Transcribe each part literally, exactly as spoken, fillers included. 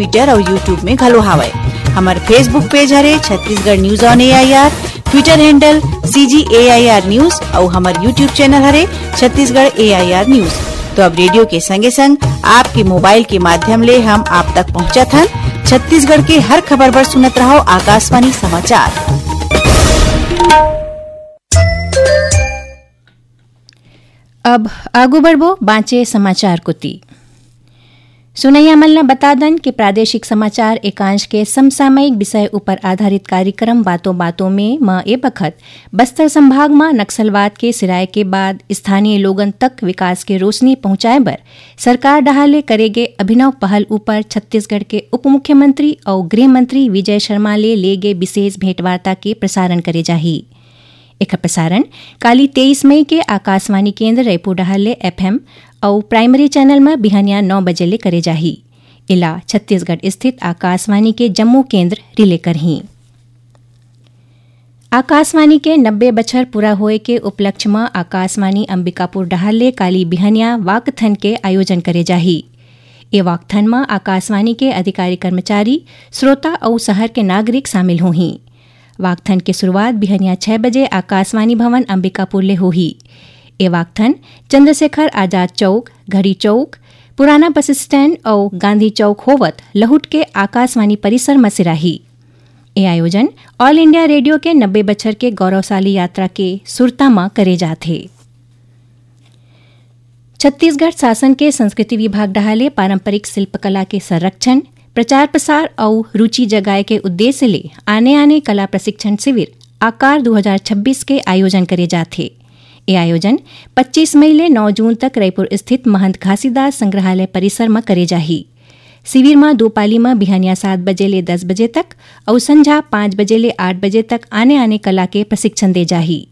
Twitter अउ YouTube में घलो हावय। हमर Facebook page हरे Chhattisgarh news on A I R, Twitter handle C G A I R news अउ हमर YouTube channel हरे Chhattisgarh A I R news। तो अब रेडियो के संगे संग आपके मोबाइल के माध्यम ले हम आप तक पहुंचत हन। छत्तीसगढ़ के हर खबर बर सुनत रहव आकाशवाणी समाचार। अब आगू बढ़बो बांचे समाचार कोति। सुनैया मन ल बता दन कि प्रादेशिक समाचार एकांश के समसामयिक विषय ऊपर आधारित कार्यक्रम बातों बातों में म ए बखत बस्तर संभाग म नक्सलवाद के सिराय के बाद स्थानीय लोगन तक विकास के रोशनी पहुंचाए बर सरकार डहार ले करे गे अभिनव पहल ऊपर छत्तीसगढ़ के उप मुख्यमंत्री अउ गृह मंत्री विजय शर्मा ले ले गे विशेष भेंटवार्ता के प्रसारण करे जाही। एखर प्रसारण काली तेईस मई के आकाशवाणी केंद्र रायपुर डहार ले F M अउ primary channel म बिहनिया नौ बजे ले करे जाही। एला छत्तीसगढ़ स्थित आकाशवाणी के जम्मो केंद्र relay करहीं। आकाशवाणी के नब्बे बछर पूरा होए के उपलक्ष्य म आकाशवाणी अंबिकापुर डहार ले काली बिहनिया walkathon के आयोजन करे जाही। ए walkathon म आकाशवाणी के अधिकारी कर्मचारी, श्रोता अउ शहर के नागरिक शामिल होहीं। Walkathon के शुरुआत बिहनिया छह बजे आकाशवाणी भवन अंबिकापुर ले होही। ए walkathon चंद्रशेखर आजाद चौक, घड़ी चौक, पुराना बस स्टैंड अउ गांधी चौक होवत लहुट के आकाशवाणी परिसर म सिराही। ए आयोजन All India Radio के नब्बे बछर के गौरवशाली यात्रा के सुरता म करे जात हे। छत्तीसगढ़ शासन के संस्कृति विभाग डहार ले पारंपरिक शिल्पकला के संरक्षण, प्रचार प्रसार अउ रुचि जगाए के उद्देश्य ले आने-आने कला प्रशिक्षण शिविर आकार दू हजार छब्बीस के आयोजन करे जात हे। ए आयोजन पच्चीस मई ले नौ जून तक रायपुर स्थित महंत घासीदास संग्रहालय परिसर म करे जाही। शिविर म दो पाली म बिहनिया सात बजे ले दस बजे तक अउ संझा पाँच बजे ले आठ बजे तक आने-आने कला के प्रशिक्षण दे जाही।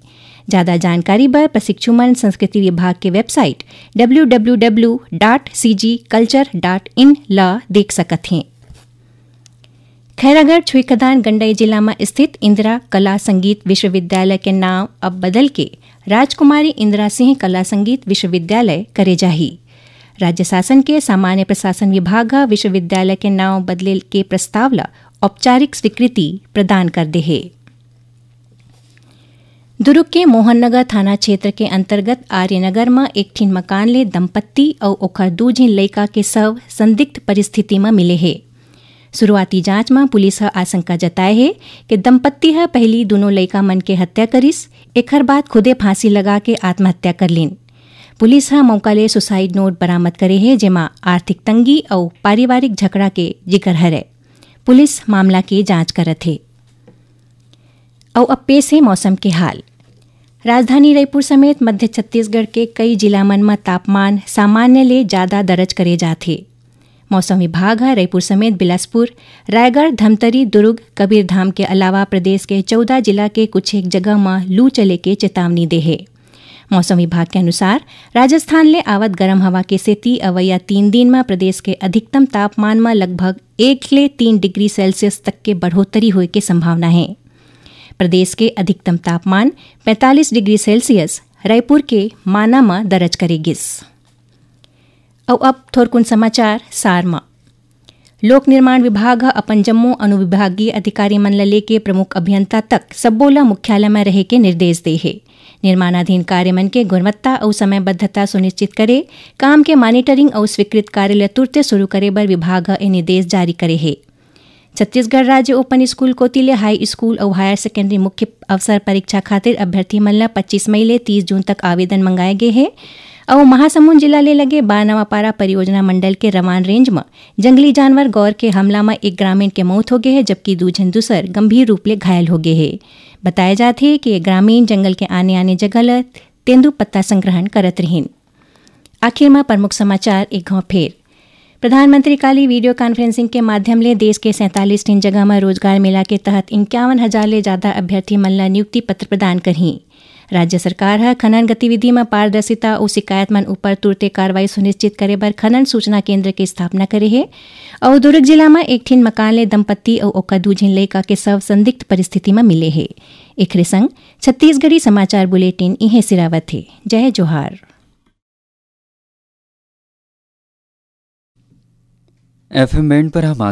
ज्यादा जानकारी बर प्रशिक्षु मन संस्कृति विभाग के website W W W dot C G culture dot in ल देख सकत हें। खैरागढ़ छुईखदान गंडई जिला म स्थित इंदिरा कला संगीत विश्वविद्यालय के नांव अब बदल के राजकुमारी इंदिरा सिंह कला संगीत विश्वविद्यालय करे जाही। राज्य शासन के सामान्य प्रशासन विभाग ह विश्वविद्यालय के नांव बदले के प्रस्ताव ल औपचारिक स्वीकृति प्रदान कर दे हे। दुर्ग के मोहन नगर थाना क्षेत्र के अंतर्गत आर्यनगर म एक ठिन मकान ले दंपत्ति अउ ओखर दू झिन लइका के शव संदिग्ध परिस्थिति म मिले हे। शुरुआती जांच म पुलिस ह आशंका जताए हे कि दंपत्ति ह पहिली दूनों लइका मन के हत्या करिस, एखर बाद खुदे फांसी लगा के आत्महत्या कर लीन। पुलिस ह मौका ले suicide note बरामद करे हे, जेमा आर्थिक तंगी अउ पारिवारिक झगड़ा के जिक्र हरय। पुलिस मामला के जांच करत हे। अउ अब पेश हे मौसम के हाल। राजधानी रायपुर समेत मध्य छत्तीसगढ़ के कई जिला मन म तापमान सामान्य ले जादा दर्ज करे जात हे। मौसम विभाग ह रायपुर समेत बिलासपुर, रायगढ़, धमतरी, दुर्ग, कबीरधाम के अलावा प्रदेश के चौदह जिला के कुछ एक जगह म लू चले के चेतावनी दे हे। मौसम विभाग के अनुसार, राजस्थान ले आवत गरम हवा के सेती अवइया तीन दिन म प्रदेश के अधिकतम तापमान म लगभग एक ले तीन डिग्री सेल्सियस तक के बढ़ोतरी होए के संभावना हे। प्रदेश के अधिकतम तापमान पैंतालीस डिग्री सेल्सियस रायपुर के माना म दर्ज करे गिस। अउ अब थोरकुन समाचार सार म। लोक निर्माण विभाग ह अपन जम्मो अनुविभागीय अधिकारी मन ल लेके प्रमुख अभियंता तक सब्बो ल मुख्यालय म रहे के निर्देश दे हे। निर्माणाधीन कार्य मन के गुणवत्ता अउ समयबद्धता सुनिश्चित करे, काम के monitoring अउ स्वीकृत कार्य ल तुरते शुरू करे बर विभाग ह ए निर्देश जारी करे हे। छत्तीसगढ़ राज्य ओपन स्कूल कोति ले हाई स्कूल अउ हायर सेकेंडरी मुख्य अवसर परीक्षा खातिर अभ्यर्थी मन ल पच्चीस मई ले तीस जून तक आवेदन मंगाए गे हे। अउ महासमुंद जिला ले लगे बारनवापारा परियोजना मंडल के रवान रेंज म जंगली जानवर गौर के हमला म एक ग्रामीण के मौत हो गे हे, जबकि दू झन दूसर गंभीर रूप ले घायल हो गे हे। बताया जात हे कि ये ग्रामीण जंगल के आने-आने जगह ल तेंदू पत्ता संग्रहण करत रिहिन। आखिर म प्रमुख समाचार एक घाव फेर। प्रधानमंत्री काली video conferencing के माध्यम ले देश के सैंतालीस ठिन जगह म रोजगार मेला के तहत इक्यावन हजार ले जादा अभ्यर्थी मन ल नियुक्ति पत्र प्रदान करही। राज्य सरकार ह खनन गतिविधि म पारदर्शिता अउ शिकायत मन उपर तुरते कार्रवाई सुनिश्चित करे बर खनन सूचना केंद्र के स्थापना करे हे। अउ दुर्ग जिला म एक ठिन मकान ले दंपत्ति अउ ओकर दू झिन लइका के शव संदिग्ध परिस्थिति म मिले हे। एखरे संग छत्तीसगढ़ी समाचार बुलेटिन इहें सिरावत हे। जय जोहार। F M band पर हम